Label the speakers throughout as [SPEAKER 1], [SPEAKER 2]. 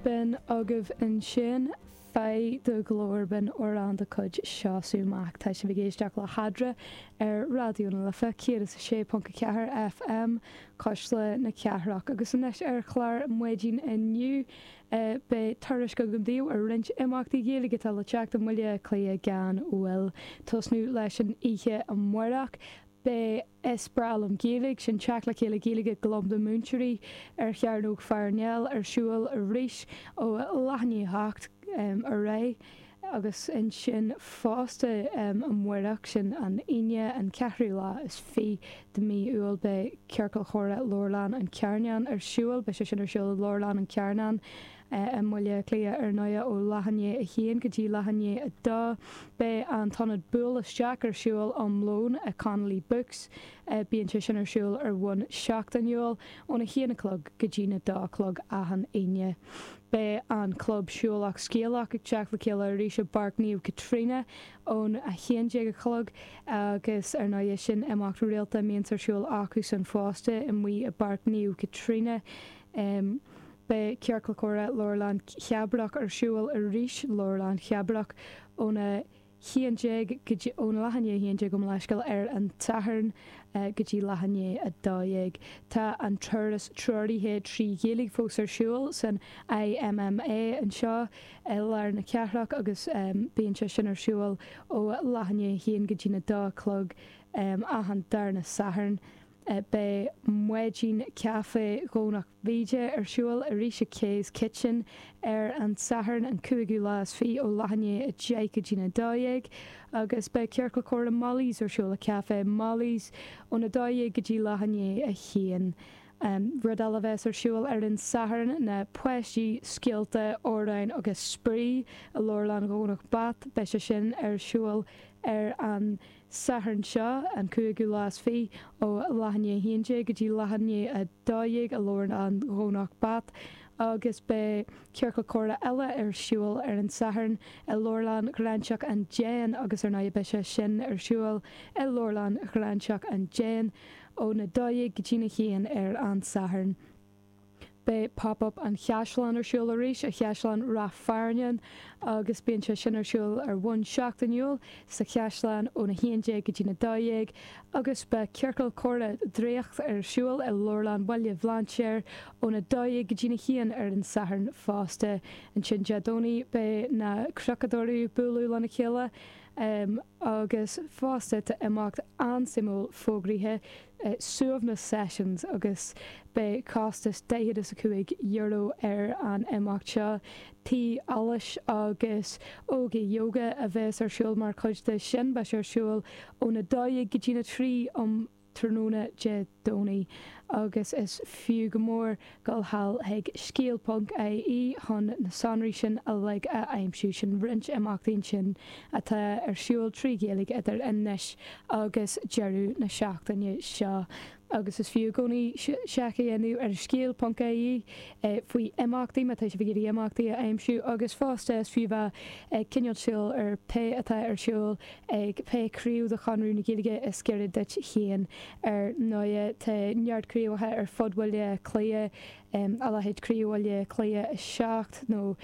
[SPEAKER 1] B'in agaibh ansin Faigh do Ghlór, b'in amhrán de chuid Seosamh Mac. Tá sibh ag éisteacht le hEadra ar Raidió na Life 106.4 FM, Cuisle na Cathrach. Agus anois ar chlár maidin inniu beidh tuairisc agam daoibh ar roinnt imeachtaí Gaeilge atá le teacht i mBaile Átha Cliath gan mhoill. Tosnú leis an oíche amárach. Beidh Is Breá Liom Gaeilge, sin teacht le chéile Gaeilge Club na Múinteoirí ar Chearnóg Pharnell ar siúl arís ó leath i ndiaidh a hocht ar aghaidh agus ansin fosta amárach, sin an Aoine an ceathrú lá is fiche de mhí Iúil, beidh Ciorcal Chomhrá Leabharlann an Charnáin ar siúl. Beidh sé sin ar siúl i Leabharlann an Charnáin. I mBaile Átha Cliath ar ndóigh ó leath i ndiaidh a haon go dtí leath i ndiaidh a dó. Beidh an t-ionad Buail Isteach ar siúl um lón i Connolly Books. Bíonn sé sin ar siúl ar bhonn seachtainiúil óna haon a chlog go dtí na dó a chlog achan Aoine. Beidh an Club Siúlach Scéalach ag teacht le chéile arís i bPáirc Naomh Caitríona ón 11 a chlog agus ar ndóigh sin imeacht rialta a mbíonns ar siúl acusan fosta amuigh i bPáirc Naomh Caitríona. Beidh Ciorcal Comhrá Leabharlann Cheabrach ar siúl arís Leabharlann Cheabrach óna 11 go dtí, óna leath i ndiaidh a 11 gabh mo leithscéal, ar an tSatharn go dtí leath i ndiaidh 12. Tá an turas treoraithe 3 Ghaeilge fós ar siúl san IMMA anseo i lár na cathrach agus bíonn sé sin ar siúl ó leath i ndiaidh a 1 go dtí na 2 a chlog achan darna Satharn. Beidh Maidin Caife Dhomhnach Bhíde ar siúl arís i Kay's Kitchen ar an Satharn an cúigiú lá is fiche ó leath i ndiaidh 10 go dtína 12 agus beidh Ciorcal Comhrá Molly's ar siúl i Café Molly's óna 12 go dtí leath i ndiaidh 1. Rud eile a bheas ar siúl ar an Satharn ná Páistí, Scéalta, Amhráin agus Spraoi i Leabharlann Dhomhnach Bat. Beidh sé sin ar siúl ar an Satharn seo, an cúigiú lá is fiche, ó leath i ndiaidh 11 go dtí leath i ndiaidh 12 i Leabharlann Dhomhnach Bat agus beidh ciorcal comhrá eile ar siúl ar an Satharn i Leabharlann Ghráinseach an Déin agus ar ndóigh beidh sé sin ar siúl i Leabharlann Ghráinseach an Déin óna 12 go dtína 1 ar an Satharn. Beidh Pop Up an Chaisleáin ar siúl arís i Chaisleán Ráth Fearnáin agus bíonn sé sin ar siúl ar bhonn seachtainiúil sa Chaisleán óna 11 go dtína 12 agus beidh Ciorcal Comhrá Draíocht ar siúl i Leabharlann Bhaile Bhlainséir óna 12 go dtína 1 ar an Satharn fosta. Ansin Dé Domhnaigh beidh na Crochadóirí ag bualadh lena chéile agus fosta tá imeacht an-suimiúil fógraithe Suaimhneas Sessions agus beidh costas €45 ar an imeacht seo. Tae allais agus Óga Yoga a bheas ar siúl mar chuid de sin. Beidh sé ar siúl óna 12 go dtína 3 um tráthnóna Dé Domhnaigh agus is fiú go mór dul thall chuig scéal ponc ie chun na sonraí sin uilig a aimsiú. Sin roinnt imeachtaí ansin atá ar siúl 3 Ghaeilge idir anois agus deireadh na seachtaine seo. Agus is fiú i gcónaí seic a dhéanamh ar scéal ponc ie faoi imeachtaí má tá sibh ag iarraidh imeachtaí a aimsiú agus fosta is fiú bheith ag coinneáil súil ar pé atá ar siúl ag pé craobh de Chonradh na Gaeilge is gaire duit féin. Ar ndóigh, tá neart craobhacha ar fud Bhaile Átha Cliath, a leithéid Craobh Bhaile Átha Cliath 7 nó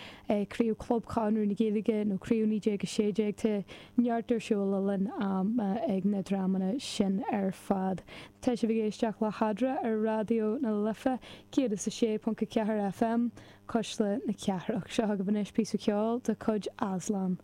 [SPEAKER 1] Craobh Chlub Chonradh na Gaeilge nó Craobh 1916, tá neart ar siúl le linn ama ag na dreamanna sin ar fad. Tá sibh ag éisteacht le hEadra ar Raidió na Life 106.4 FM, Cuisle na Cathrach. Seo agaibh anois píosa ceoil de chuid Aslan.